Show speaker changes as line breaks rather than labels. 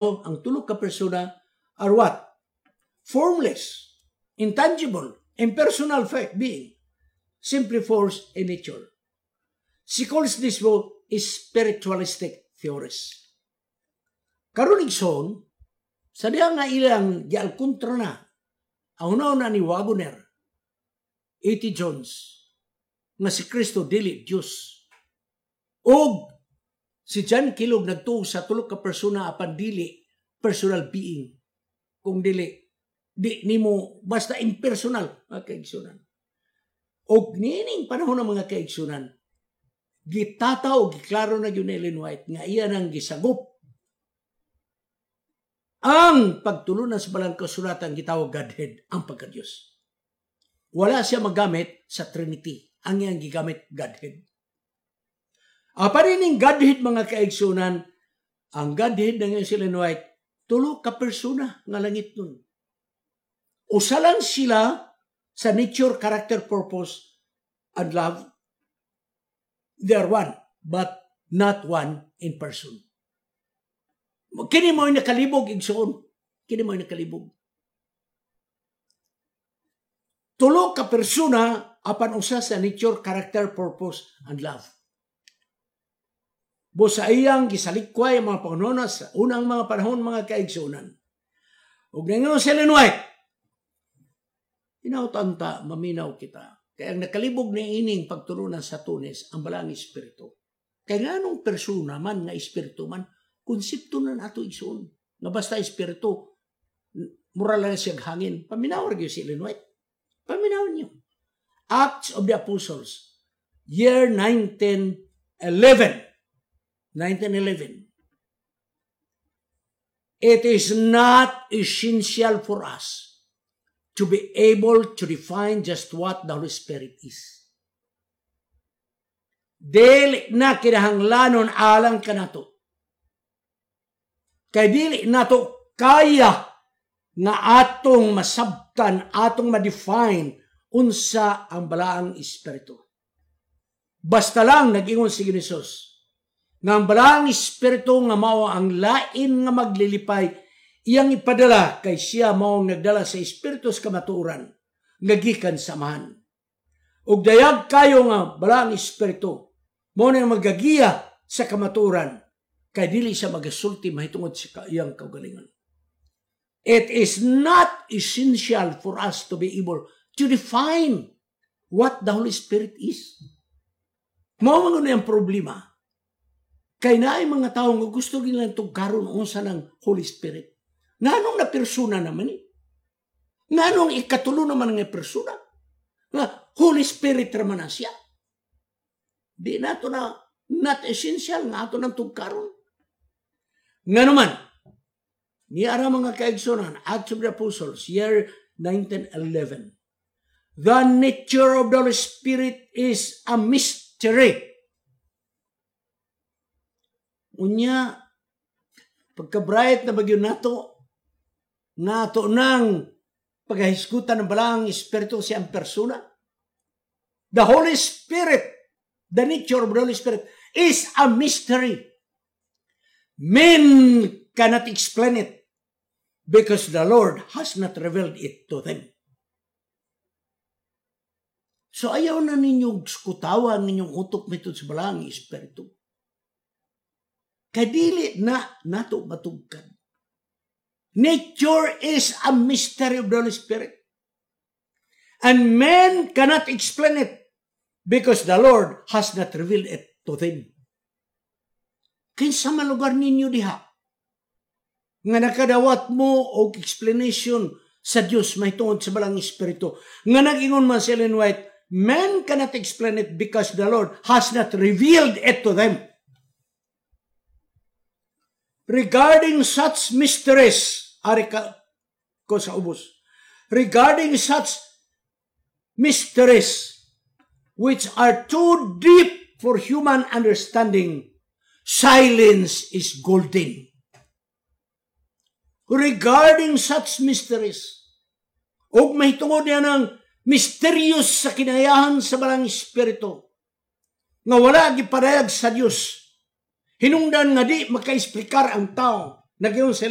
Ang tulo ka persona are what? Formless, intangible, impersonal being, simply force in nature. She calls this view spiritualistic theories. Karon, igsoon, sa diha nga ilang gialkontra na ang una ni Waggoner, A.T. Jones, nga si Kristo dili Diyos. Og si John Kellogg nagtuo sa tulo ka persona apan dili personal being. Kung dili di nimo basta impersonal, mga kaigsunan. Og niining panahon ng mga kaigsunan, gitataw, giklaro na gyud ni Ellen White nga iya nang gisagop ang pagtulunan sa Balang Kasulatan, gitawag Godhead, ang pagka-Diyos. Wala siya magamit sa Trinity. Ang iyang gigamit, Godhead. Apan ining Godhead, mga kaigsunan, ang Godhead ng si Ellen White, tulo ka persona nga langit nun. Usa lang sila sa nature, character, purpose, and love. They are one, but not one in person. Kini mo nakalibog, igsoon. Kini mo nakalibog. Tulo ka persona apan usa sa nature, character, purpose, and love. Busa iyang gisalikway ang mga panghunahuna sa unang mga panahon, mga kaigsunan. Ug ningon si Ellen White, hinautan ta, maminaw kita. Kaya ang nakalibog ni ining pagtulunan sa twoness, ang Balaang Espiritu. Kaya nganong persona man nga espiritu man, konsepto na nato, igsoon. Nga basta espiritu, mura lang siya hangin. Paminaw ra gyud si Ellen White. Paminaw niyo. Acts of the Apostles, year 1911. 1911. It is not essential for us to be able to define just what the Holy Spirit is. Dili na kinahanglanon alang kanato. Kay dili nato kaya nga atong masabtan, atong ma-define unsa ang Balaang Espiritu. Basta lang nag-ingon si Jesus nga ang Balaang Espiritu nga mao ang lain nga maglilipay iyang ipadala kay siya mao ang nagdala sa Espiritu sa kamatuoran nga gikan sa Amahan. Ug dayag kayo nga Balaang Espiritu mao nang magagiya sa kamatuoran kay dili siya magasulti mahitungod sa iyang kaugalingon. It is not essential for us to be able to define what the Holy Spirit is. Mao man ang problema. Kay naay mga tao nga gusto nilang tugkaron unsa ng Holy Spirit. Nganong na persona naman eh? Nganong ikatulo naman nga persona? Nga Holy Spirit raman na siya. Di nato na not essential nga ato nang tugkaron. Nga naman, ni ara, mga kaigsunan, Acts of the Apostles, year 1911. The nature of the Holy Spirit is a mystery. Unya, pagka-bright na bagyo nato, nato nang paghahisgutan ng Balaang Espiritu siyang persona. The Holy Spirit, the nature of the Holy Spirit is a mystery. Men cannot explain it because the Lord has not revealed it to them. So ayaw na ninyong skutawan ninyong utok mitod sa Balaang Espiritu. Kadili na nato matugkad. Nature is a mystery of the Holy Spirit. And men cannot explain it because the Lord has not revealed it to them. Kinsa man lugar ninyo diha nga nakadawat mo og explanation sa Dios mahitungod sa Balang Espiritu? Nga nag-ingon man si Ellen White, men cannot explain it because the Lord has not revealed it to them. Regarding such mysteries, ari ka ko sa ubos. Regarding such mysteries which are too deep for human understanding, silence is golden. Regarding such mysteries, ug mahitungod niya ng mysterious sa kinayahan sa Balang Espiritu, nga wala gipadayag sa Dios, hinungdan nga di makaesplikar ang tao. Nag-ingon sila.